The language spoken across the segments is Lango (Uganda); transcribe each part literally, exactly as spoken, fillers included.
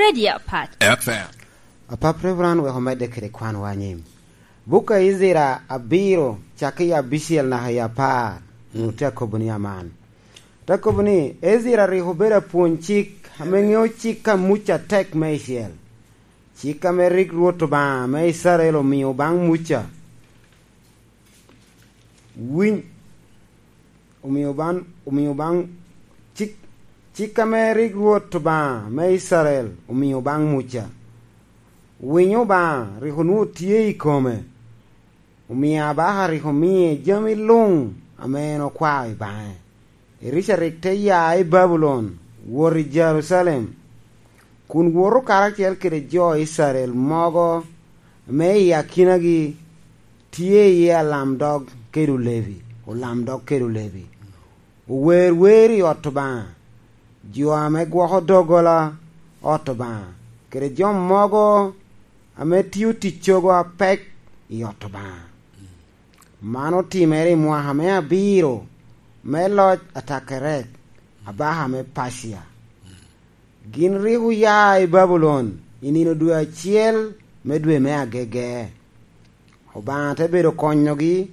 Media Pac. F M. Apap Reverend wek omedde kede kwanwa anyim. Buk a Icrael abiro, cakki i abicel naka i apar, onwoŋo tye akobo ni aman. Te kobo ni, Icrael rik obedo apwony cik, ame ŋeo cik a Muca atek meicel. Cik ame rik Rwot Obaŋa me Icrael omio baŋ Muca. Winy, omio baŋ, omio baŋ cik, cik ame rik Rwot Obaŋa me Icrael omio baŋ Muca. Winyo Obaŋa rik onwoŋo tye i kome, omio abaka rik omie jami luŋ ame en okwao i baŋe. Erica rik te ya i Babulon, wot i Jerucalem, kun woto karacel kede jo Icrael mogo ame i akinagi tye iye alamdog kede olebi, olamdog kede olebi. Ower wer i ot Obaŋa, jo ame gwoko doggola ot Obaŋa, kede jo mogo ame tio ticcogo apek i ot Obaŋa. Man otimere i mwaka me abiro me loc Atakerek, abaka me Pacia. Gin rik oya i Babulon i nino dwe acel me dwe me agege. Obaŋa te bedo konyogi,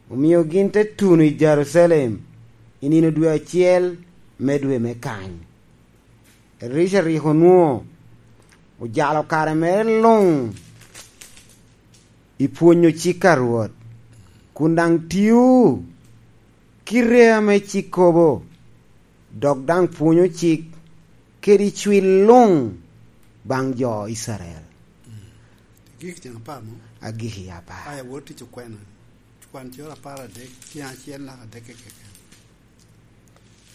omio gin te tuno i Jerucalem i nino dwe acel me dwe me kany. Erica rik onwoŋo ojalo kare mere luŋ i pwonyo cik a Rwot, kun daŋ tio kite ame cik kobo, dok daŋ pwonyo cik kede cwil luŋ baŋ jo Icrael. Gik tyen apar mo? Agik i apar. Aya, wot tic okwena. Kwan coro apar adek, tyen acel naka adek keken.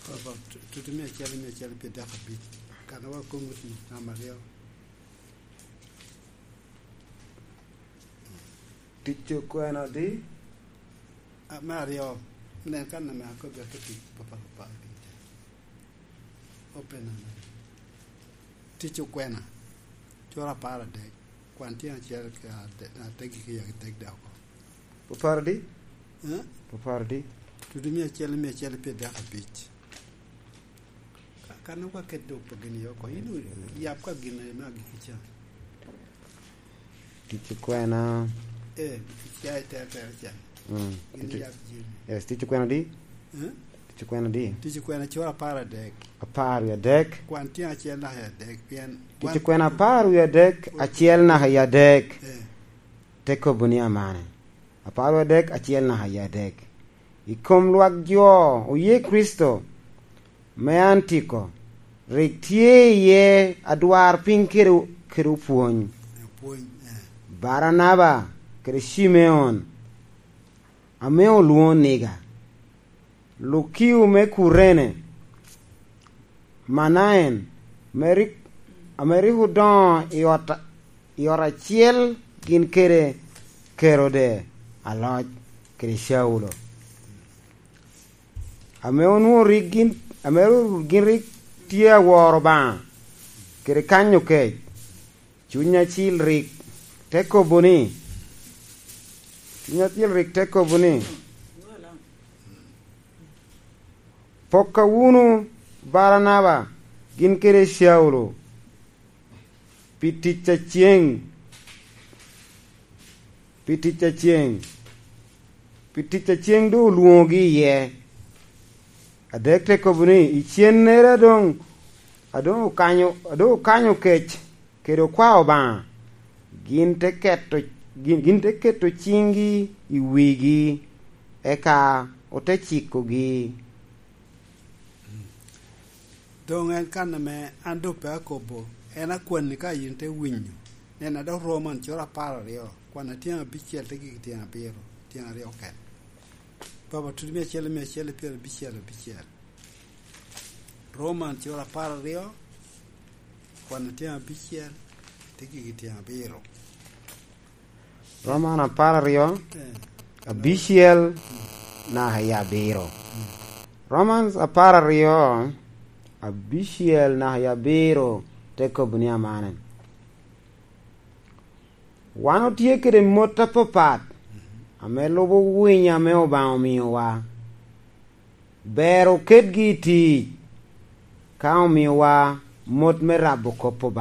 Papa, tu-, tutu mia acel, mia acel pye dek abic. Kan wa koŋ oti, namba aryo. Tic okwena di? A, me aryo, nen kan ame akobo ate tic, papa, papa, papa. Open ame. Tic okwena, coro apar adek, kwan tyen acel ka ade-, ateggi ki yagi tek dok oko. Oparo di? Eh? Oparo di? Tutu mia acel, mia acel pye dek abic. Ka-, kan okwa ket dok pa gin yo oko, in o-, yap ka gin ame agikki ca. Tic okwena. Eh, ca i tere tere ca. Mm. Gin Tic o-, yap jami. Yes, tic okwena di? Eh? Tic okwena di? Tic okwena coro apar adek. Apar wie adek. Kwan tyen acel naka i adek, pien Tic wan okwena apar wie adek, acel naka i adek. Eh. Te kobo ni amane. Apar wie adek, acel naka i adek. I kom lwak jo oye Kricito me Antiko, rik tye iye adwarpiny kede, kede opwony. Opwony, eh. Baranaba kede Cimeon, ame olwoŋo Niga, Lukio me Kurene, Manaen, me rik, ame rik odoŋo i ot, i ot acel gin kede Kerode aloc kede Caulo, ame onwoŋo rik gin, ame ru-, gin rik tye aworo Obaŋa kede kanyo kec. Cuny Acil rik te kobo ni, Cuny Acil rik te kobo ni, "Pokka wunu Baranaba gin kede Caulo pi tic a ceŋ, pi tic a ceŋ, pi tic a ceŋ doŋ olwoŋogi iye." Adek te kobo ni, "I cennere adoŋ, adoŋ okanyo, adoŋ okanyo kec kede okwao Obaŋa, gin te keto, gin, gin te keto ciŋgi i wigi, eka ote cikogi." Doŋ en kan ame an doŋ pe akobo, en akwanni ka yin te winyo. Nen, adok Roman coro apar aryo, kwan atyeŋ abicel te gik tyeŋ abiro, tyeŋ aryo oket. Papa, tutu mia acel, mia acel i pyerabicel abicel. Roman cura apar aryo, kwan atyeŋ abicel, te gigi tyeŋ abiro. Roman apar aryo, eh, abicel naka i abiro. Romans apar aryo, abicel naka i abiro te kobo ni amane. Wan otye kede mot apapat ame lubo winyo ame Obaŋa omiowa. Ber oketgi i tic, ka omiowa mot me rabo kop Obaŋa.